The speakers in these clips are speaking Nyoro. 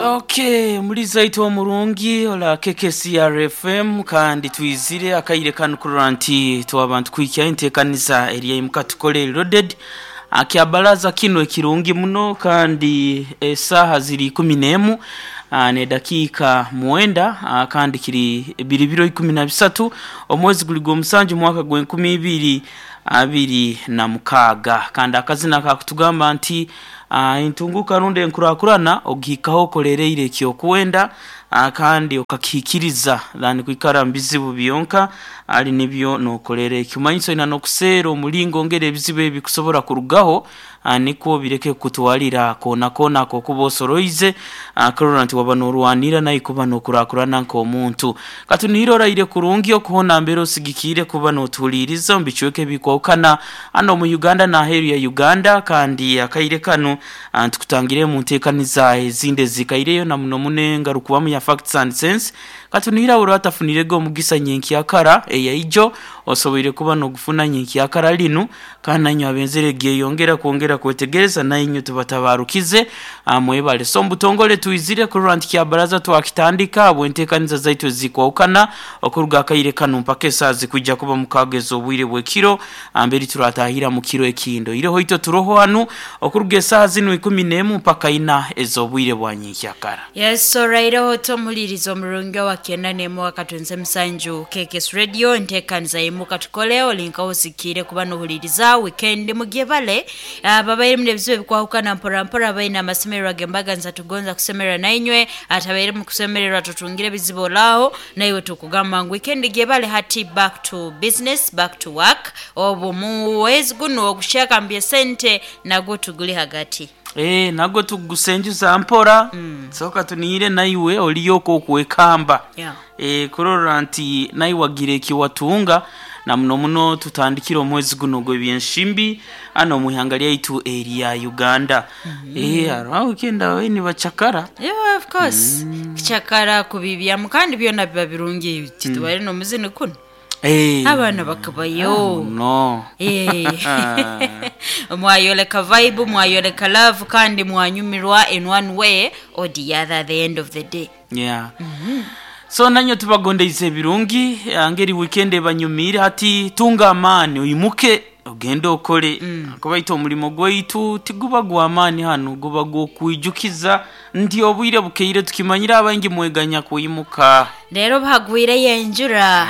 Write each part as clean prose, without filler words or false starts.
Okay, muliza itwe omurungi ola KKCR FM, kandi twizire akaire kanu kurora nti twabantu kuhikya enteekaniza erya tukole loaded akyabaraza kino ekirungi muno. Kandi esaaha ziri 11 nedakiika 9, kandi kiri biri biro 13 omwezi guli gw'omusanju mwaka gw'2026. Kandi akazina kakutugamba nti entunguka rundi enkurakurana ogihikaho okolereire ekyokwenda, kandi okakihikiriza than kwikara mu bizibu byonka ali nibyo nokolera ekimanyiso ina n'okuseera omulingo ngeri ebizibu ebi bikusobora kurugaho, nikwo bireke kukutwalira koona koona akokuba osoroize, kurora nti waba norwanira naye kuba nokurakurana nk'omuntu. Katunihire oraire kurungi okuhona mbere osigikiire kuba notuhuliiriza omu bicweka ebikwahukana hano omu Uganda n'aheeru ya Uganda. Kandi akaire kanu ntukutangire mu nteekaniza ezindi ezikaireyo na muno muno engarukubamu ya Facts and Sense. Katunihire abo atafunirege omugisa nyenkyakara eyaijo osoboire kuba nogufuna nyenkyakara linu, kandi nainywe abenzere gyeyongera kwongera kwetegereza, nainywe tubatabarukize, mwebale. So mubutongole twizire kurora nti kyabaraza twakitandika habw'enteekaniza zaitu ezikwahukana okuruga akaire kanu mpaka esaaha zikwijja kuba mukaaga ez'obwire bw'ekiro, mberi turatahira mu kiro ekindo ireho itwe turoho hanu okuruga esaaha zinu 11 mpaka 4 ez'obwire bwa nyenkyakara. Yes, oraireho tomuhuliriza omurungi owa 91 akatunze musanju KKS Radio, enteekaniza yimuka tukole olinkaho osikiire kuba nohuliriza weekend mugyebale. Babaire ebizibu ebikwahukana mpora mpora, baine amasemererwa gembaganiza, tugonza kusemererwa nainywe atabaire mu kusemererwa tutungire ebizibu olaho naiwe tukugamba ngu weekend gyebale. Hati back to business, back to work. Obu muwezi guno ogushakambye sente nagwo tuguli hagati. Nagwo tugusenjuza mpora. Soka tunihire naiwe oliyo okwokwekamba, kurora nti naiwe wagira ekiwatunga, na muno muno tutandikire omwezi guno ogw'ebyenshimbi hano omu ihanga lyaitu erya Uganda. Hariho weekend ababaire nibacakara. Yeah, of course. Kucakara kubibyamu kandi byona biba birungi, titubaire n'omuzini kuno. Abaana bakabayo. No. Mwayoleka vibe, mwayoleka love, kandi mwanyumirwa in one way or the other at the end of the day. Yeah. So nanyo tubagondeize ebirungi ngeri weekend ebanyumiire. Hati tunga amaani oimuke ogende okole, kuba itwe omulimo gwaitu tiguba gw'amaani hanu, guba gw'okwijukiza nti obwire bukeire. Tukimanyire abaingi mweganya kwimuka. Leero buhagwireyo enjura.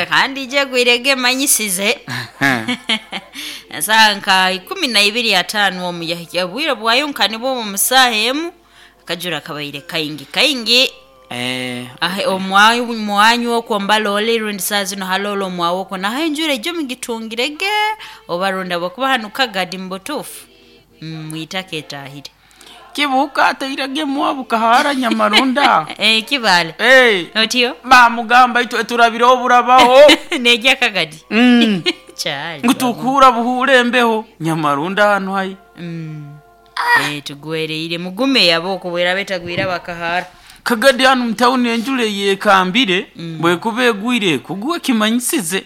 Kandi ije egwire emanyisize esaaha nka 12:50 omu yahikya obwire bwayo nka nibwo omu saaha emu akajura kabaire kaingi kaingi. Ahe omwanyu okwo mbalooli rundi saaha zino haloole omwawe okwo naho enjura ejo mugitungirege oba rundi habwokuba hanu Kagadi mu butuufu mwitaka etaahire. Kibuuka atairage mwabu kahara nyamarunda. Kibaale. Otyo? Bamugamba itwe turabireho burabaho. Nejya Kagadi. Kyali. Ngu tukuura buhuura embeho nyamarunda hanu hai. Tugwereire mugume yabo okubwera betagwira bakahara. Kagadi hanu mutawuni enjura eyekambire bwekuba egwire kugwa ekimanyisize.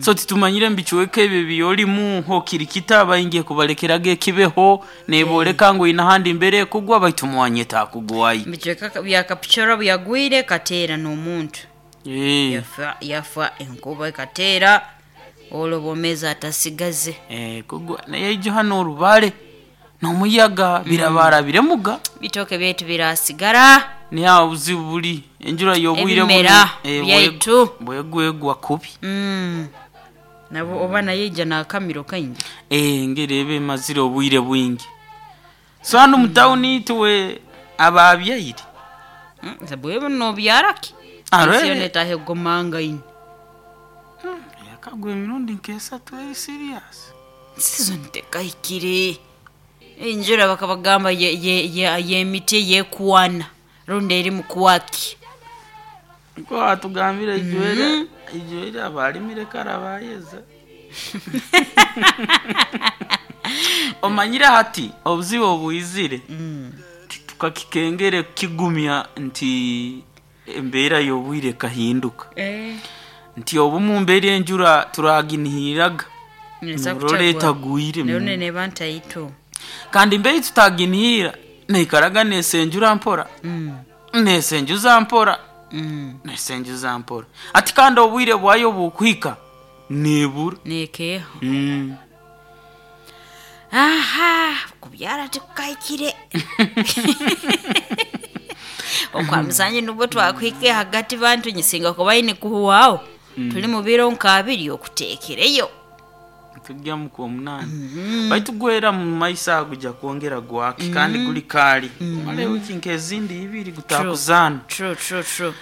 So titumanyire mubicweka ebyo ebyorimu hokirikita abaingi ekubalekeraga ekibeho neboleka ngu ine ahandi mbere ekugwa baitu mwanya etakugwayo. Bicweka bya Kapchorwa byagwire kateera n'omuntu. Yafa yafa enkuba ekateera olwo bwomezi atasigaze. Kugwa naye ijo hano orubare n'omuyaga birabara biremuga. Bitooke byaitu birasigara. Niho aho obuzibu buri enjura y'obwire buno Ebimera byaitu. Bwegwegwa kubi. Nabo oba nayo ija n'akamiro kaingi. Engeri eba emazire obwire bwingi. So hanu mu tawuni itwe ababyaire. Bwebo nobyara ki? Arwe. Ensi yoona etaaha egomangaine. Yakagwa emirundi nk'esatu eri serious. Season tekahikire. Enjura bakabagamba y'emiti yekwana rundi eri mu kwaki. Nko atugambire ijwere ijwere abalimire kara bayeza. Omanyire hati obuzibu obwizire tukakikengere kigumya nti embeera y'obwire ekahinduka. Nti obumu mbere enjura turaginihiraga Neza norora kutagwa. etagwire. Nayo neba ntaito. Kandi mbere tutaginihira. Neikaraga nesenjura mpora, nesenjuza mpora, nesenjuza mpora ati, kandi obwire bwayo bukuhika nebura. Nekeeho. Aha, kubyara tikukahikire okwa musanje nubwo twakuhike hagati. Bantu nyisinga kuba aine kuhuwaho tuli mu biro nk'abiri okuteekereyo. Tujja mu kwomunaani, baitu gwera mu maiso ago gujja kwongera gwake kandi guli kaali mara ewiki nk'ezindi ibiri gutakuzaana. True, true, true.